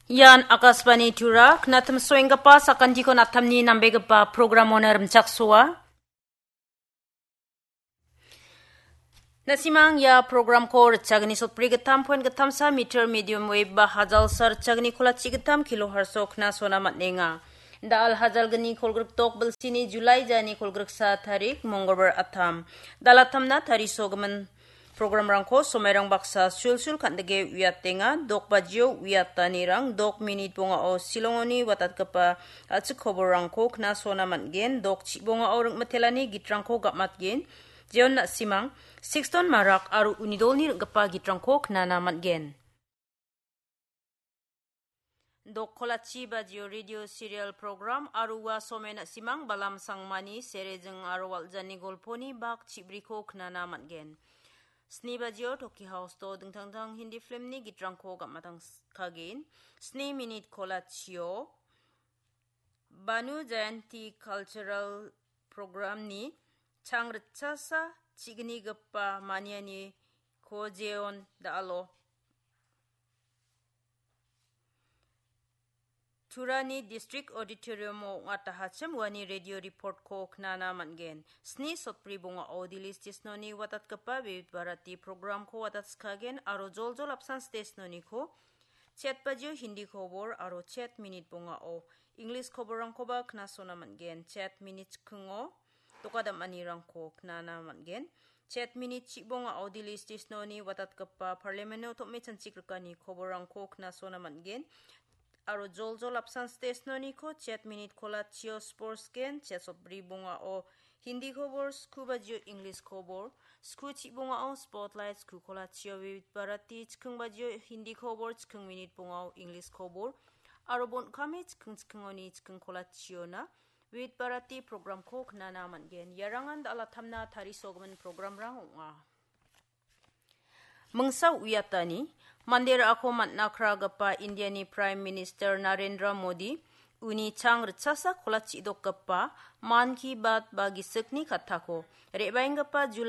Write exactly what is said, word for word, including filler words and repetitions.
Ian Akashvani Tura, knatim soenggipa sakantiko natamni nambegipa programona rimchaksoa. Nasimang ia programko ritchagni sotbri gittam point gittamsa meter medium wave ba hajalsa ritchagni kolachi gittam kilohertz-o knasona man·enga. Da·al hajalgni kolgrikdok bilsini July jani kolgriksa tarik, Mongolbar atam. Dalatamna tarisogimin programrangko somairang baksa sulsul kan·dige uiatenga. Dok bajio uiatanirang dok minit bongao Shillongoni watatgipa a·chik koborrangko knasona man·gen. Dok chibongao ringmitelani gitrangko gam·atgen. Jeon Nasimang, Sixton Marak aro uni dolni ring·gipa gitrangko knana man·gen. Dok kolachi bajio radio serial program aro ua somen Nasimang Balam Sangmani Serejing aro Waljani golponi bak chibriko knana man·gen. Sni bajio Toki House-o dingtang dingtang Hindi filmni gitrangko gam·atangskagen. Sni minit kolachio Banu Jayanti Cultural Programni chang ritchasa chignigipa maniani ko Jeon Dalo Turani District Auditorium-o ong·atahachim uani radio report-ko knana man·gen. Sni sotbri bongao Delhi station-oni watatgipa Vividh Bharati program-ko watatskagen aro joljol apsan station-oniko chet bajio Hindi kobor aro chet minit bongao English koborrangkoba knasona man·gen. Chet minit chikingo doka dam·anirangko knana man·gen. Chet minit chibongao Delhi station-oni watatgipa Parliament-o tom·e chanchikrikani koborrangko knasona man·gen. Aro joljol apsan station-oniko chet minit kolachio sports gen, chet sotbri bongao Hindi kobor, sku bajio English kobor, sku chibongao spotlight, sku kolachio Vividh Bharati, chiking bajio Hindi kobor, chiking minit bongao English kobor, aro bon·kame chiking chikingoni chiking kolachiona Vividh Bharati program-ko knana man·gen. Iarangan dal·atamna tarisogimin programrang ong·a. Mingsa uiatani, mande ra·ako man·a kragipa Indiani Prime Minister Narendra Modi, uni chang ritchasa kolachi dokgipa Mann Ki Baat ba gisikni kattako re·baenggipa July